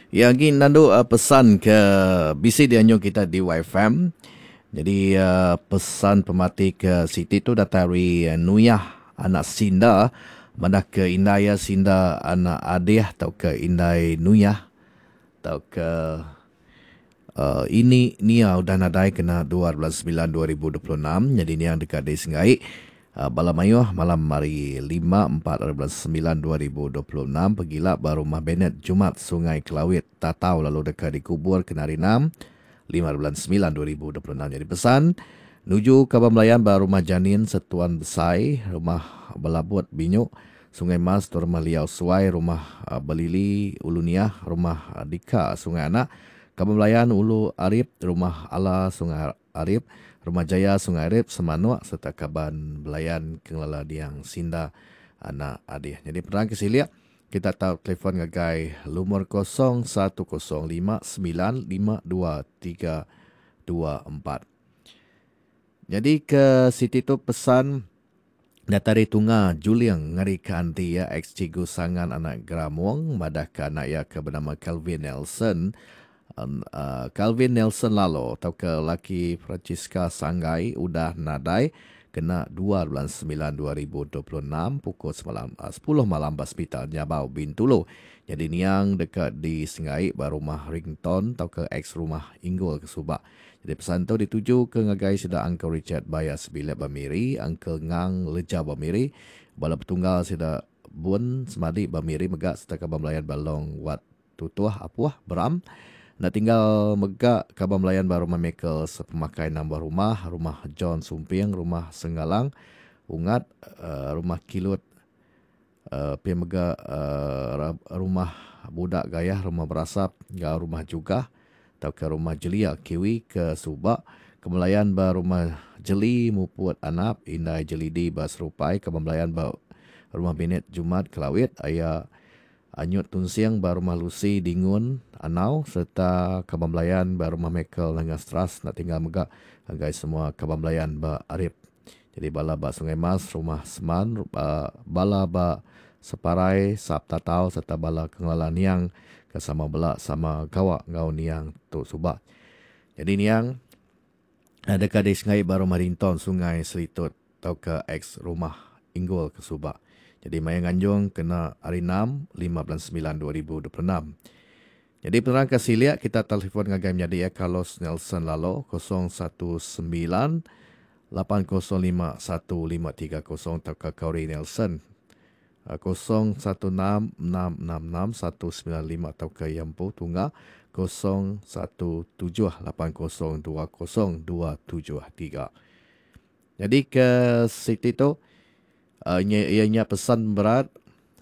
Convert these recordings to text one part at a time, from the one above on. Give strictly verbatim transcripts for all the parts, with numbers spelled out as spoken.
Ya agi nandu uh, pesan ke bisi dianjung kita di Y F M. Jadi uh, pesan pemati ke siti tu datai ari uh, Nuyah anak Sinda madah ke indai ya Sinda anak Adih atau ke indai Nuyah atau ke uh, ini Nia udah nadai kena dua bulan sembilan dua ribu dua puluh enam. Jadi ni yang dekat di Sengai uh, bala mayuh malam hari lima empat sembilan dua ribu dua puluh enam pegila ba rumah Bennett Jumat, Sungai Kelawit, Tatau, lalu dekat dikubur kena hari enam lima bulan sembilan dua ribu dua puluh enam. Jadi pesan nuju kaban belayan ba rumah Janin Setuan Besai, rumah Belabut Binyuk, Sungai Mas, rumah Liau Suai, rumah uh, Belili Ulu Niah, rumah uh, Dika Sungai Anak, kaban belayan Ulu Arip, rumah Ala Sungai Arip, Rumah Jaya Sungai Arip, Semanuk, serta kaban belayan kengelala Diang Sinda anak Adih. Jadi penerang ke silik kita tahu telefon ngagai lumur kosong satu kosong lima sembilan lima dua tiga dua empat. Jadi ke siti tu pesan datai Tunga Juliang ngari ke anti ya ex Cikgu Sangan anak Gramong madah ke anak ya ke bernama Calvin Nelson um, uh, Calvin Nelson Lalo atau ke laki Francisca Sanggai udah nadai kena dua bulan sembilan dua ribu dua puluh enam pukul semalam, uh, sepuluh malam ba hospital Nyabau, Bintulu. Jadi niang dekat di Sengai ba rumah Rington atau ke ex rumah Inggul ke Subak. Jadi pesan tu dituju ke ngagai sida Uncle Richard Bayas Bilik Bamiri, Uncle Ngang Leja Bamiri, bala petunggal sida Bun Semadi Bamiri mega serta kaban belayan Balong Wat Tutuh Apuh Beram. Nak tinggal mega kaban belayan ba rumah Michael Sepemakai nambah rumah, rumah John Sumping, rumah Senggalang, Ungat, uh, rumah Kilut, uh, pi mega uh, rumah Budak Gayah, rumah Berasap, ngau rumah Jugah, atau ke rumah Jelia Kiwi ke Subak, kemelayan ba rumah Jeli Muput Anap, Indai Jelidi ba Serupai, kemelayan ba rumah Binet Jumat Kelawit, aya Anyut Tunsiang ba rumah Lucy Dingun Anau, serta kaban belayan ba rumah Michael Nanga Stras. Nak tinggal mega ngagai semua kaban belayan ba Arip. Jadi bala ba Sungai Mas, rumah Seman, bala ba Separai, Sap Tatau, serta bala kengelala niang ke sama bela sama gawa ngau niang tu subak. Jadi niang dekat di Sungai Baru Marinton, Sungai Selitut atau ke ex rumah Inggul ke Subak. Jadi maya nganjung kena hari enam lima bulan sembilan dua ribu dua puluh enam. Jadi penerang ke silik kita telefon ngagai menyadi ya Carlos Nelson Lalo kosong satu sembilan lapan kosong lima satu lima tiga kosong atau ke Corey Nelson kosong satu enam enam enam enam satu sembilan lima atau ke Yampu Tunggal kosong satu tujuh lapan kosong dua kosong dua tujuh tiga. Jadi ke siti tu uh, ianya pesan berat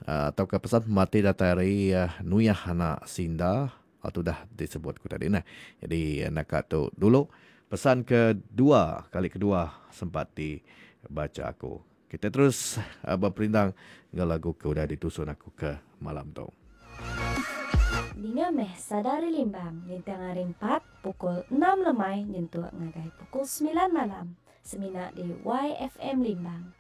uh, atau ke pesan mati datai ari uh, Nuyah anak Sinda atau dah disebut ku tadi nah. Jadi nak tu dulu pesan kedua kali kedua sempat dibaca aku. Kita terus uh, berperindang dengan lagu ke udah ditusun aku ke malam tu. Dinga meh Sadari Limbang nintang hari empat pukul enam lemai nyentuk ngagai pukul sembilan malam. Semina di Y F M Limbang.